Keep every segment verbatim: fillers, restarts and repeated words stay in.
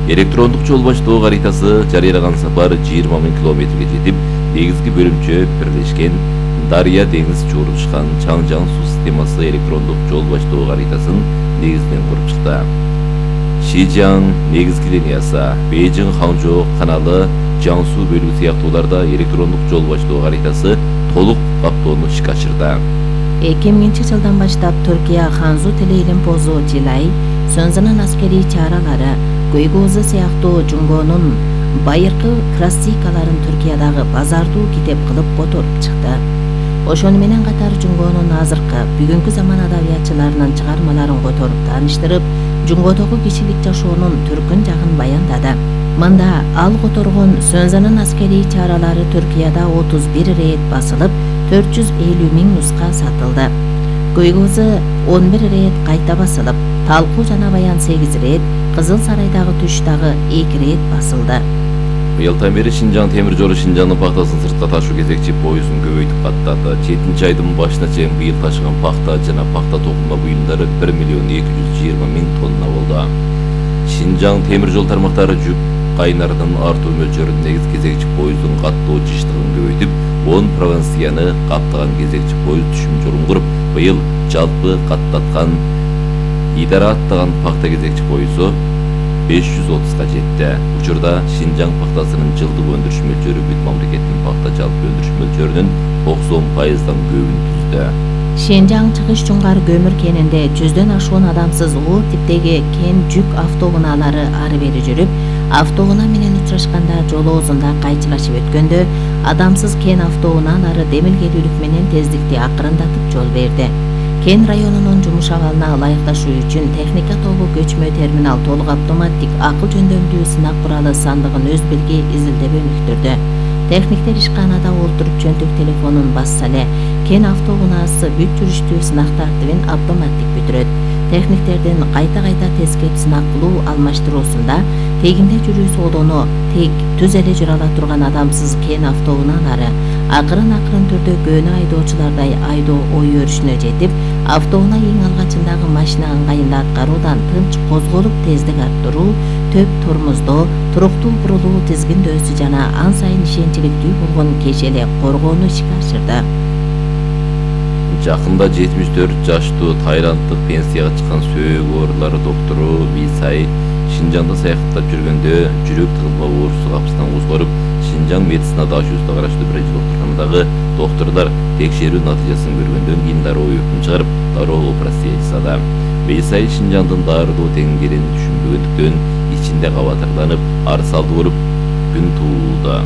Электрондук жол баштоо каритасы жарыялаган сапар жыйырма миң километрге жетип, негизги бөлүмчө бирлешкен Дарья деңиз чогулушкан Чаңжаң суу системасы электрондук жол баштоо каритасын негизинен куруп чыкты. Шижаң негизги линиясы, Бейжиң Ханчжоу каналы, Жаңсу бөлүгү сыяктууларда электрондук жол баштоо каритасы толук каптоону ишке ашырды. эки миңинчи жылдан баштап Түркия Ханзу Телеилим Позу Жилай, Сөнзөнүн аскерий чаралары, Көйгөзү сыяктуу Жунгонун байыркы классикаларын Түркиядагы базардуу китеп кылып которуп чыкты. Ошону менен катар Жунгонун азыркы, бүгүнкү заман адабиятчыларынын чыгармаларын которуп тааныштырып, Жунгодогу кишилик жашоонун түркүн жагын баяндады. Мында ал которгон Сөнзөнүн аскерий чаралары Түркияда отуз бир рет басылып, төрт жүз элүү миң нуска сатылды. Көйгөзү он бир рет кайта басылып, Талкуу жана Баян сегиз рет, Кызыл Сарайдагы туш дагы эки рет басылды. Быйылдан бери Шинжаң темир жолу Шинжаңдын пактасын сыртка ташуу кезекчи поездун көбөйтүп каттады. жетинчи айдын башына чейин быйыл ташыган пакта жана пакта токума буюмдары бир миллион эки жүз жыйырма миң тонна болду. Шинжаң темир жол тармактары жүк кайнарынын артуу мөлчөрүн негиз кезекчи поезддун каттоо жыштыгын көбөйтүп, он провинцияны каптаган кезекчи поезд түшүм жолун куруп, быйыл жалпы каттаткан идара аттаган пакта кезекчи поезду беш жүз отузга жетти. Учурда Шинжаң пактасынын жылдык өндүрүш мөлчөрү бүт мамлекеттин пакта жалпы өндүрүш мөлчөрүнүн токсон пайыздан көбүн түздү. Шинжаң чыгыш Жуңгар көмүр кенинде жүздөн ашуун адамсыз оор типтеги кен жүк автоунаалары ары бери жүрүп, автоунаа менен учурашканда жолоозунда кайчылашып өткөндө, адамсыз кен автоунаалары демилгелүүлүк менен тездикти акырындатып жол берди. Кен районунун жумуш абалына ылайыкташуу үчүн техника тобу көчмө терминал толук автоматтик акыл жөндөмдүү сынак куралы сандыгын өз белги изилдеп өнүктүрдү. Техниктер ишканада олтуруп жөнтөк телефонун басса эле, кен автоунаасы бүт жүрүштүү сынак тартибин автоматтик бүтүрөт. Техниктердин кайта-кайта тескеп сынак кылуу алмаштыруусунда тегинде жүрүү соодону тек түз эле жүрө ала турган адамсыз кен автоунаалары акырын-акырын түрдө көнө айдоочулардай айдоо ой өрүшүнө жетип, автоунаа эң алгачындагы машина ыңгайында аткаруудан тынч козголуп тездик арттыруу, төп тормоздоо, туруктуу бурулуу тизгиндөөсү жана ан сайын ишенчиликтүү болгон кеш эле коргоону ишке ашырды. Жакында жетимиш төрт жаштуу тайланддык пенсияга чыккан сөөк оорулары доктору Висай Шинжаңда саякаттап жүргөндө жүрөк тыгылма оорусу капысынан козгоруп, Шинжаң медицина дашуусуна караштуу бир доктурханадагы доктурлар текшерүү натыйжасын көргөндөн кийин дароо өкүм чыгарып, дароо операция жасады. Висай Шинжаңдын дарылуу теңгерин түшүнбөгөндүктөн ичинде кабатырланып, арсалды болуп күн туулду.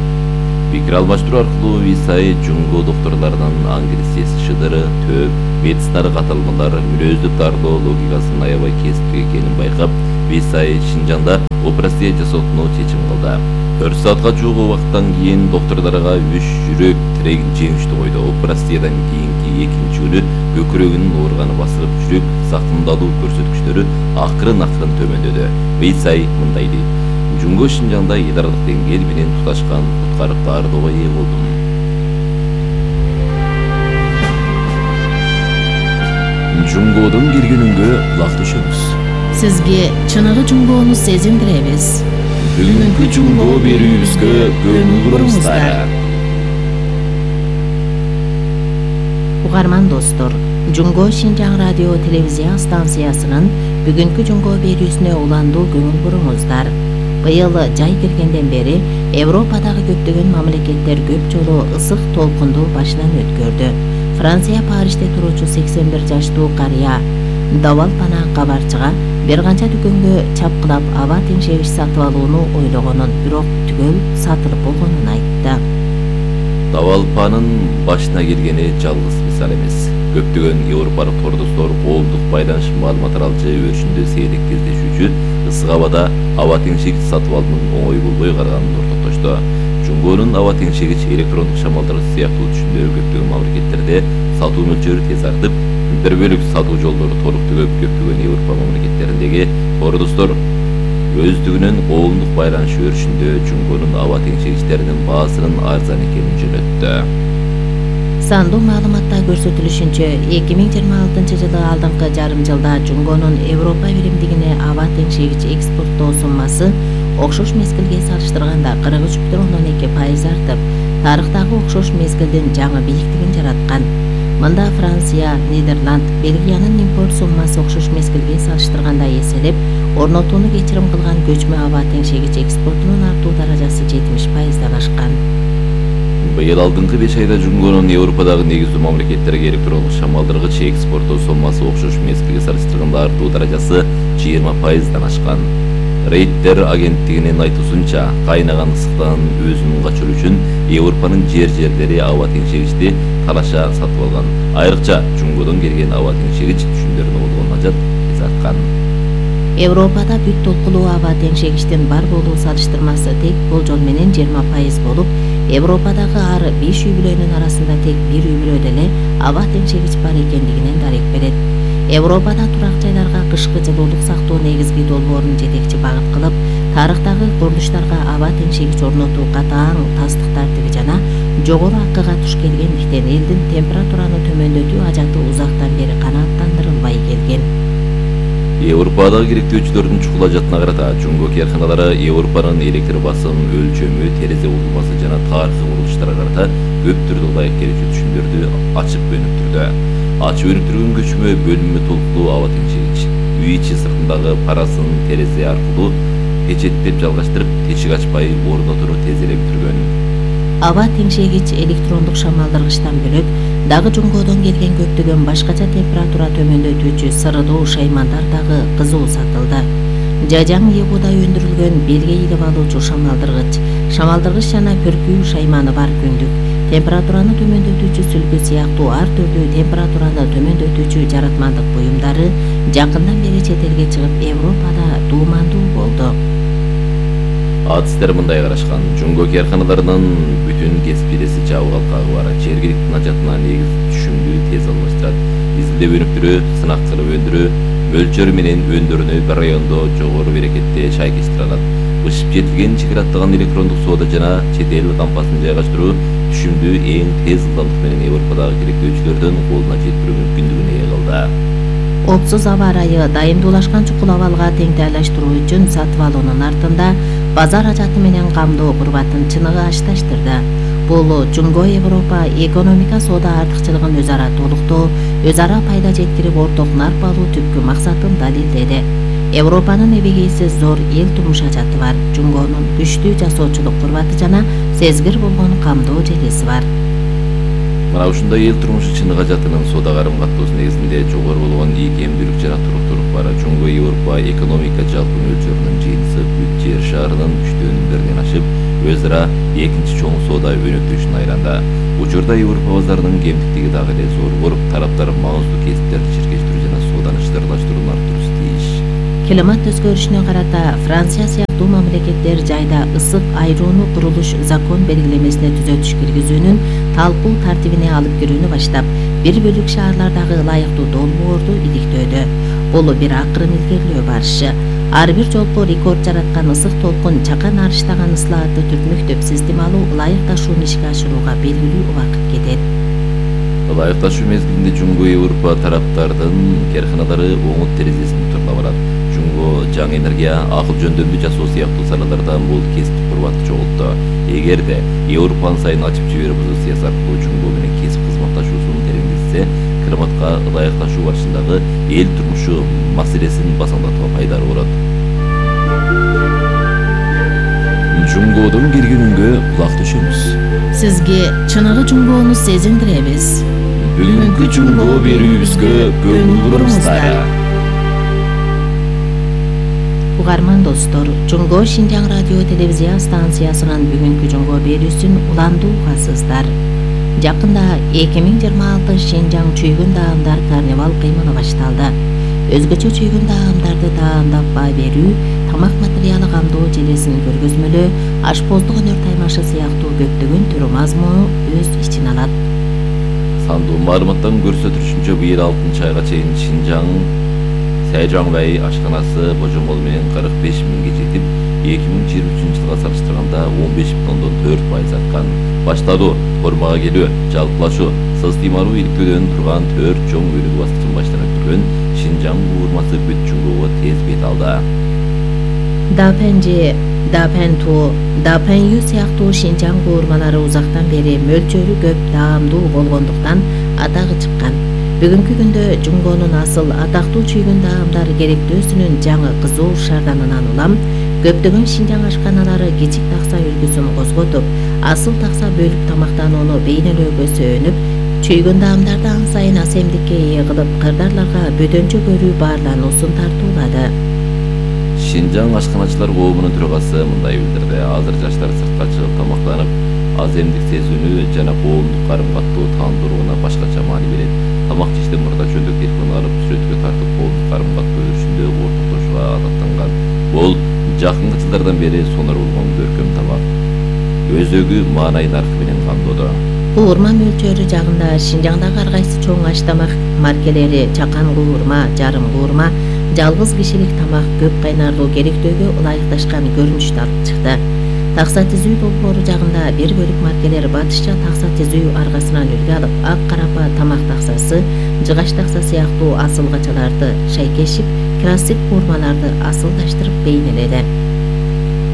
Пикир алмаштыруу аркылуу Висай Жунго доктурларынын ангидесиси шыдыры, төп, медициналык аталмалар, мүнөздүк дарылоо логикасынын аябай кесиптүү экенин байкап, Висай Шинжаңда операция жасоотуну чечим кылды. төрт саатка жуук убакыттан кийин доктурларга үч жүрөк тирегин жеңиштүү койду. Операциядан кийинки экинчи күнү көкүрөгүнүн ооруганы басылып, жүрөк сактымдалуу көрсөткүчтөрү акырын-акырын төмөндөдү. Висай мындай дейт: Жунго Шинжаңда идаралык деңгээл менен туташкан куткарып дарылоого ээ болдум. Жунгодун келгенүнгө кулак түшөбүз. Сизге чыныгы Жунгону сезиндиребиз. Бүгүнкү Жунго берүүбүзгө көңүл буруңуздар. Угарман достор, Жунго Шинжаң радио телевизия станциясынын бүгүнкү Жунго берүүсүнө уландуу көңүл буруңуздар. Быйыл жай киргенден бери Европадагы көптөгөн мамлекеттер көп жолу ысык толкунду башынан өткөрдү. Франция Парижде туруучу сексен бир жаштуу карыя Давалпана кабарчыга бир канча дүкөнгө чапкылап аба теңшегич сатып алууну ойлогонун, бирок түгөл сатылып болгонун айтты. Давалпанын башына келгени жалгыз мисал эмес. Көптөгөн европалык тордостор коомдук байланыш маалымат аралжы өрүшүндө сейрек кездешүүчү ысык абада аба теңшегич сатып алуунун оңой болбой калганын ортоктошту. Жунгонун аба теңшегич электрондук шамалдар сыяктуу түшүмдөрү көптөгөн мамлекеттерде сатуу мөлчөрү тез артып, бир бөлүк сатуу жолдору толук түгөп, көптөгөн Европа мамлекеттериндеги тордостор өздүгүнүн коомдук байланыш өрүшүндө Жунгонун аба теңшегичтеринин баасынын арзан экенин жөнөттү. Сандуу маалыматта көрсөтүлүшүнчө, эки миң жыйырма алтынчы жылы алдыңкы жарым жылда Жунгонун Европа биримдигине аба теңшегич экспорттоо суммасы окшош мезгилге салыштырганда кырк үч бүтүн ондон эки пайыз артып, тарыхтагы окшош мезгилдин жаңы бийликтигин жараткан. Мында Франция, Нидерланд, Бельгиянын импорт суммасы окшош мезгилге салыштырганда эселеп, орнотууну кечирим кылган көчмө аба теңшегич экспортунун артуу даражасы жетимиш пайыздан ашкан. Быйыл алдыңкы беш айда Жунгонун Европадагы негиздүү мамлекеттерге электрондук шамалдыргыч экспорту суммасы окшош мезгилге салыштырганда артуу даражасы жыйырма пайыздан ашкан. Рейтер агенттигинин айтуусунча, кайнаган ысыктан өзүн качыруу үчүн Европанын жер-жерлери аба теңшегичти талаша сатып алган. Айрыкча Жунгодон келген аба теңшегич түшүмдөрүнө болгон ажат эзарткан. Европада бүт толкулуу аба теңшегичтин бар болуу салыштырмасы тек болжол менен жыйырма пайыз болуп, Европадагы ар беш үй бүлөнүн арасында тек бир үй бүлөдө эле аба теңшегич бар экендигинен дарек берет. Европада турак жайларга кышкы жылуулук сактоо негизги долбоорун жетекчи багыт кылып, тарыхтагы курулуштарга аба теңшегич орнотуу катаң тастык тартиби жана жогору акыга туш келгендиктен элдин температураны төмөндөтүү ажаты узактан бери канааттандырылбай келген. Европадагы керектөөчүлөрдүн чукул ажатына карата Жунго кээрканалары Европанын электр басым өлчөмү, терезе урулмасы жана тарыхый курулуштарга карата көп түрдө ылайык келүүчү түшүмдөрдү ачып өнүктүрдү. Ачып өнүктүргөн көчмө бөлүнмө толкулуу аба теңшегич үй ичи сыртындагы парасын терезе аркылуу печеттеп жалгаштырып, тешик ачпай орнотууну тез эле бүтүргөн. Аба теңшегич электрондук шамалдыргычтан бөлөк дагы Жунгодон келген көптөгөн башкача температура төмөндөтүүчү сырдуу шаймандар дагы кызуу сатылды. Жажаң эгуудай өндүрүлгөн белге илип алуучу шамалдыргыч, шамалдыргыч жана пөркүү шайманы бар күндүк, температураны төмөндөтүүчү сүлгү сыяктуу ар түрдүү температураны төмөндөтүүчү жаратмандык буюмдары жакындан бери чет элге чыгып Европада туумандуу болду. Адыстер мындай карашкан. Жунго кээрканаларынын бүтүн кесип иелеси жабык алкагы бар. Жергиликтин ажатына негиз түшүмдү тез алмаштырат. Изилдеп өнүктүрүү, сынак кылып өндүрүү, мөлчөрү менен өндөрүнү bir райондо жогору берекетте шайкештире алат. Бышып жетилген чегираттаган электрондук соода жана чет эл кампасын жайгаштыруу түшүмдү эң тез ылдамдык менен Европадагы керектөөчүлөрдүн колуна жеткирүү мүмкүндүгүнө ээ кылды. Опсуз аба ырайы дайымдуулашкан чукул абалга теңдейлештирүү үчүн сатып алуунун артында базар ажаты менен камдоо курбатын чыныгы ашташтырды. Бул Жунго Европа экономика соода артыкчылыгын өз ара толуктоо, өз ара пайда жеткирип орток нарп алуу түпкү максатын далилдеди. Европанын эбегейсиз зор эл турмуш ажаты бар. Жунгонун күчтүү жасоочулук курбаты жана сезгир болгон камдоо желеси бар. Мына ушундай эл турмушу чыныгы ажатынын соода карым каттоосу негизинде жогору болгон ийкемдүүлүк жана туруктуулук бар. Жунго Европа экономика жалпы мөлчөрүнүн жыйынтыгы бүт жер шаарынын үчтөн биринден ашып, өз ара экинчи чоң соода өнөктөшүнө айланды. Учурда Европа базарынын кемтиктиги дагы эле зор болуп, тараптар маңыздуу кесиптерди чиркештирүү жана сооданы иштарлаштырууну арттыруу тийиш. Климат өзгөрүшүнө карата Франция сыяктуу мамлекеттер жайда ысык айрууну курулуш закон белгилемесине түзөтүш киргизүүнүн талкуу тартибине алып кирүүнү баштап, бир бөлүк шаарлардагы ылайыктуу долбоорду иликтөөдө. Бул бир акырын илгерилөө барышы. Ар бир жолку рекорд жараткан ысык толкун чакан арыштаган ыслаатты түртмөктөп системалуу ылайыкташууну ишке ашырууга белгилүү убакыт кетет. Ылайыкташуу мезгилинде Жунго Европа тараптардын кээрканалары оңут терезесин турлап алат. Жунго жаңы энергия, акыл жөндөмдү жасоо сыяктуу салаларда бул кесиптик курбатты чогултту. Эгерде Европанын сайын ачып жиберип позициясы аркылуу Жунго менен кесип кызматташуусун тереңдетсе, климатка ылайыкташуу барышындагы эл турмушу маселесин басаңдатууга пайдалуу болот. Жунгодон келген үнгө кулак түшөмүз. Сизге чыныгы Жунгону сезиндиребиз. Бүгүнкү Жунго берүүбүзгө көңүл буруңуздар. Угарман достор, Жунго Шинжаң радио телевизия станциясынын бүгүнкү Жунго берүүсүн уландуу угасыздар. Жакында эки миң жыйырма алты Шинжаң чүйгүн даамдар карнавал кыймылы башталды. Өзгөчө чүйгүн даамдарды даамдап баа берүү, тамак материалы камдоо желесин көргөзмөлөө, ашпоздук өнөр таймашы сыяктуу көптөгөн түрү мазмуну өз ичине алат. Сандуу маалыматтан көрсөтүлүшүнчө быйыл алтынчы айга чейин Шинжаң Сайжаңбай ашканасы божомол менен кырк беш миңге жетип, эки миң жыйырма үчүнчү жылга салыштырганда он беш бүтүн ондон төрт пайыз арткан. Башталуу, формага келүү, жалпылашуу, сыз тыймалуу иликтөөдөн турган төрт чоң өнүгүү баскычын баштан өткөргөн Шинжаң уурмасы бүт Жунгого тез бет алды. Дапенже Дапенту, Дапенью сыяктуу Шинжаң куурмалары узактан бери мөлчөрү көп, даамдуу болгондуктан атагы чыккан. Бүгүнкү күндө Жумгонун асыл атактуу чүйгүн даамдар керектөөсүнүн жаңы кызуу шарданынан улам көптөгөн Шинжаң ашканалары кичик такса үлгүсүн козготуп, асыл такса бөлүп тамактанууну бейнелөөгө сөөнүп, чүйгүн даамдарды ан сайын асемдикке ээ кылып, кырдаарларга бөтөнчө көрүү баарлануусун тартуулады. Шинжаң ашканачылар коомунун төрагасы мындай билдирди. Азыр жаштар сыртка чыгып тамактанып, аземдик сезүүнү жана коомдук карым-каттоо таандырууна башкача маани берет. Тамак жештен мурда чөлдүк телефон алып, сүрөткө тартып коомдук карым-каттоо өрүшүндө ортоктошууга адаттанган. Бул жакынкы жылдардан бери сонор болгон көркөм тамак. Өзөгү маанай наркы менен камдоодо. Куурма мөлчөрү жагында Шинжаңдагы ар кайсы чоң аш тамак маркелери чакан куурма, жарым куурма, жалгыз кишилик тамак көп кайнарлуу керектөөгө ылайыкташкан көрүнүштү алып чыкты. Такса тизүү долбоору жагында бир бөлүк маркелер батышча такса тизүү аргасынан үлгү алып, ак карапа тамак таксасы, жыгач такса сыяктуу асылгачаларды шайкешип, классик куурмаларды асылдаштырып бейнеледи.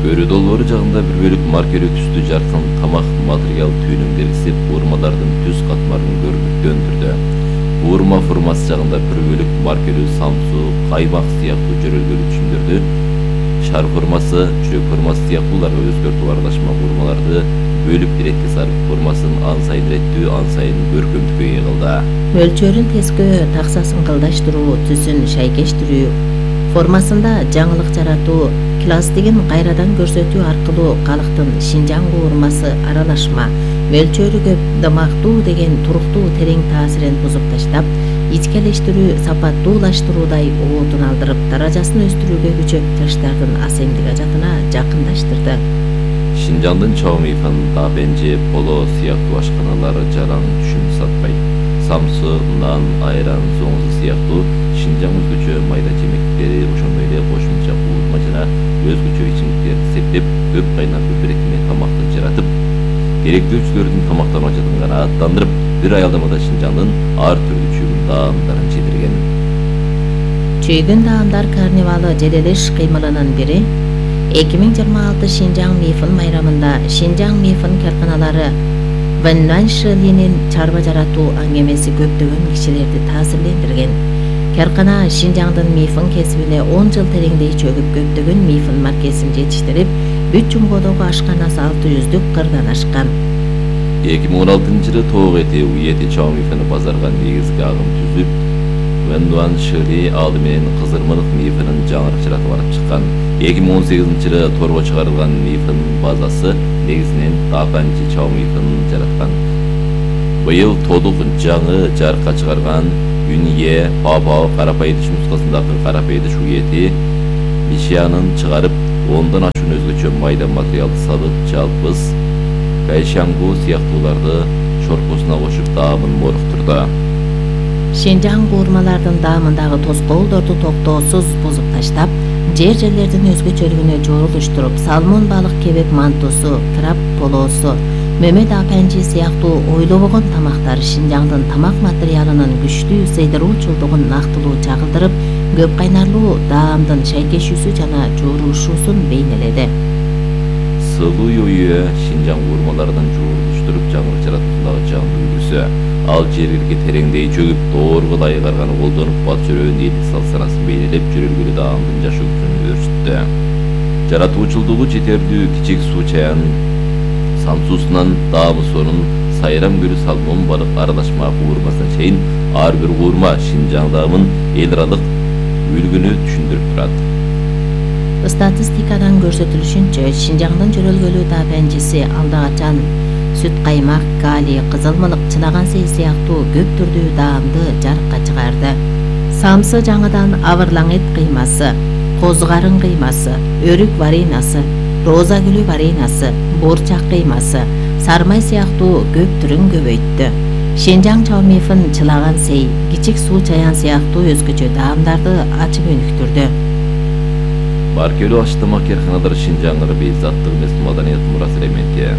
Өрү долбоору жагында бир бөлүк маркелүү түстүү жаркын тамак материал түйүнүн белгисип, куурмалардын түз катмарын көрүнүктөндүрдү. Куурма формасы жагында бир бөлүк маркелүү самсу, каймак сыяктуу жөрөлгөлүү түшүмдөрдү, шар формасы, жүрөк формасы сыяктууларга өзгөртүп аралашма куурмаларды бөлүп иретке сарып, формасын ан сайын иреттүү, ан сайын көркөмдүккө ээ кылды. Мөлчөрүн тескөө, таксасын кылдаштыруу, түсүн шайкештирүү, формасында жаңылык жаратуу, класстигин кайрадан көрсөтүү аркылуу калктын Шинжаң куурмасы аралашма, мөлчөрү көп, дамактуу деген туруктуу терең таасирин бузуп таштап, ичкелештирүү, сапаттуулаштыруудай оотун алдырып, даражасын өстүрүүгө күчөп, жаштардын асемдик ажатына жакындаштырды. Шинжаңдын Чаомифан, Дапенже, Поло сыяктуу ашканалары жаран түшүм сатпайт. Самсы, нан, айран, зоңзу сыяктуу Шинжаң өзгөчө майда жемектери, ошондой эле кошумча куурма жана өзгөчө ичимдиктерди септеп, көп кайнарлуу берекме тамакты жаратып, керектөөчүлөрдүн тамактануу ажатын канааттандырып, бир аялдамада Шинжаңдын ар түрдүү чүйгүн даамдарын жетирген. Чүйгүн даамдар карнивалы желелеш кыймылынын бири эки миң жыйырма алты Шинжаң Мифын майрамында Шинжаң Мифын карканалары Вэннан Шилинин чарба жаратуу аңгемеси көптөгөн кишилерди таасирлендирген. Каркана Шинжаңдын мифын кесибине он жыл тереңдей чөгүп, көптөгөн мифын маркесин жетиштирип, бүт Жумгодогу ашканасы алты жүздүк кырдан ашкан. эки миң он алтынчы жылы тоок эти уети Чаомифаны базарга негизги агым түзүп, Вэннан Шили алды менен Кызырмылык мифынын жаңырык жаратып алып чыккан. эки миң он сегизинчи жылы торго чыгарылган мифын базасы негизинен Дапенже Чаомифын жараткан. Быйыл толук жаңы жарыкка чыгарган Юнье Папао карапайдыш нускасындагы карапайдыш уети Мишиянын чыгарып, ондон ашуун өзгөчө майда материалды салып, жалпыз Кайшангу сыяктууларды чоркосуна кошуп даамын моруктурду. Шинжаң куурмалардын даамындагы тоскоолдорду токтоосуз бузуп таштап, жер жерлердин өзгөчөлүгүнө жорулуштуруп, салмон балык кебек мантусу, краб полосу, мөмө Дапенже сыяктуу ойлобогон тамактар Шинжаңдын тамак материалынын күчтүү сейдируучулдугун нактылуу чагылдырып, көп кайнарлуу даамдын шайкешүүсү жана жоорушуусун бейнеледи. Сылуу үйө Шинжаң куурмаларынын жуурулуштуруп жаңырык жаратуусундагы жандуу үлгүсү. Ал жергиликти тереңдей чөгүп, доорго ылайык арганы колдонуп, бат жөрөөнүн элдик салт-санасын бейнелеп, жөрөлгөлүү даамдын жашоо күчүн көрсөттү. Жаратуучулдугу жетерлүү кичик суу чаян самсуусунан даамы сонун сайрам көлү салмон балык аралашма куурмасына чейин ар бир куурма Шинжаң даамын эл аралык үлгүнү түшүндүрүп турат. Статистикадан көрсөтүлүшүнчө, Шинжаңдын жөрөлгөлүү Дапенжеси алда качан сүт каймак, калий, кызылмылык, чылаган сей сыяктуу көп түрдүү даамды жарыкка чыгарды. Самсы жаңыдан авырлаңет кыймасы, коз карын кыймасы, өрүк варенасы, роза гүлү варенасы, буурчак кыймасы, сармай сыяктуу көп түрүн көбөйттү. Шинжаң Чаомифын чылаган сей, кичик суу чаян сыяктуу өзгөчө даамдарды ачып өнүктүрдү. Маркелүү аш тамак карканалары Шинжаңдын бейзаттык эмес маданият мурасы элементи.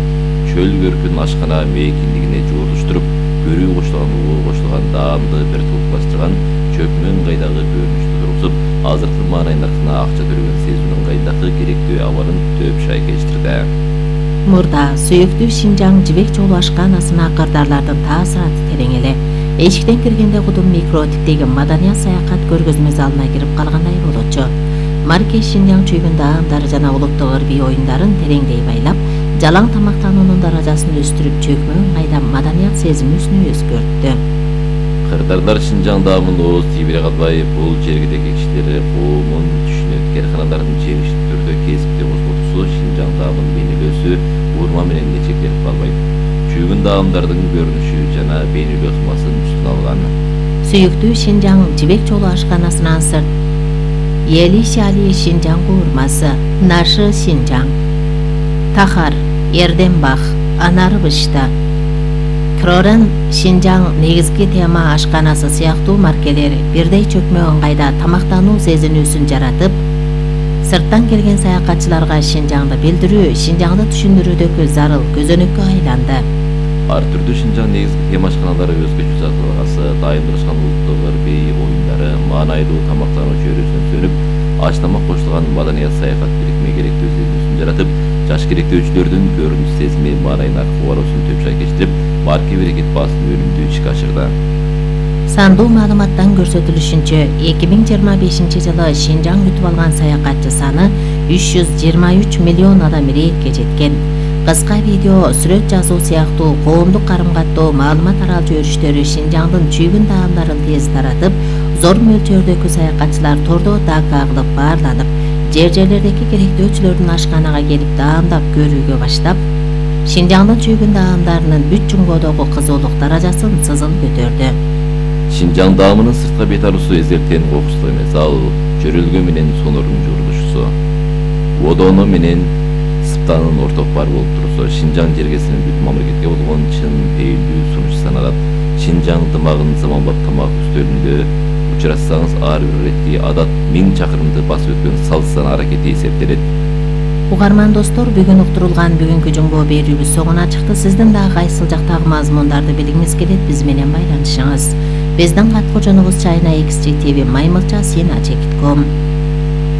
Чөл көркүн ашкана мейкиндигине жуурулуштуруп, көрүү кошулган улуу кошулган даамды бир тулукташтырган чөкмө ыңгайдагы көрүнүштү тургузуп, азыркы маанай наркына акча төлөгөн сезүүнүн айындагы керектүү абалын төп шай кечтирди. Мурда сүйүктүү Шинжаң жибек жолу ашканасына кырдаарлардын таасираты терең эле. Эшиктен киргенде кудум микро типтеги маданият саякат көргөзмө залына кирип калгандай болчу. Маркеш Шинжаң чүйгүн даамдары жана улуттук ырбий оюндарын тереңдей байлап, жалаң тамактануунун даражасын өстүрүп, чөкмө ыңгайда маданият сезимибизин өзгөрттү. Кырдаарлар Шинжаң даамын ооз тийбире калбай, бул жергидеги кишилер коомун түшүнөт. Карканалардын жегиштүү түрдө кесипти козготуусу Шинжаң даамын бейнелөөсү урма менен эле чектелип калбайт. Чүйгүн даамдардын көрүнүшү жана бейнелөө сымасын үстүнө алган. Сүйүктүү Шинжаң жибек жолу ашканасынан сырт Ели Шали Шинжаң куурмасы, Нашы Шинжаң, Тахар, Эрденбах, Анарбышта, Крорен Шинжаң негизги тема ашканасы сыяктуу маркелер бирдей чөкмө ыңгайда тамактануу сезинүүсүн жаратып, сырттан келген саякатчыларга Шинжаңды билдирүү, Шинжаңды түшүндүрүүдөгү зарыл көзөнөккө айланды. Ар түрдүү Шинжаң негизги тема ашканалары өзгөчө жазылгасы, дайындырышкан улуттук ырбий оюндары, маанайдуу тамактануу чөйрөсүнөн сөнүп, аш тамак кошулган маданият саякат бирикме керектүү сезимин жаратып, жаш керектөөчүлөрдүн көрүнүш сезими маанайын аркы баруусун төп шай кечтирип, марке берекет баасын өнүмдүү ишке ашырды. Сандуу маалыматтан көрсөтүлүшүнчө, эки миң жыйырма бешинчи жылы Шинжаң күтүп алган саякатчы саны үч жүз жыйырма үч миллион адам иретке жеткен. Кыска видео, сүрөт жазуу сыяктуу коомдук карым-каттоо маалымат таралчу өрүштөрү Шинжаңдын чүйгүн даамдарын тез таратып, зор мөлчөрдөгү саякатчылар тордо дака кылып баарланып, жер-жерлердеги керектөөчүлөрдүн ашканага келип даамдап көрүүгө баштап, Шинжаңдын чүйгүн даамдарынын бүт жумгодогу кызуулук даражасын сызыл көтөрдү. Шинжаң даамынын сыртка бет алуусу эзертен кокустуу эмес, ал чөрөлгө менен сонордун жуурулушусу. Одоно менен сыптанын орток бар болуп турусу, Шинжаң жергесинин бүт мамлекетке болгон чын пейилдүү сунушу саналат. Шинжаң дымагын заманбап тамак үстөлүндө учуратсаңыз, ар бир иретти адат миң чакырымды басып өткөн салт-сан аракети эсептелет. Угарман достор, бүгүн уктурулган бүгүнкү жумго берүүбүз соңуна чыкты. Сиздин дагы кайсыл жактагы мазмундарды билгиңиз келет, биз менен байланышыңыз. Биздин каткочонубуз Чайна X J T V Маймылча Сина Чекитком.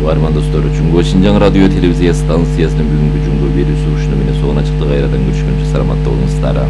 Угарман достор, Жумго Шинжаң радио телевизия станциясынын бүгүнкү жумго берүүсү ушуну менен соңуна чыкты. Кайрадан көрүшкөнчө саламатта болуңуздар.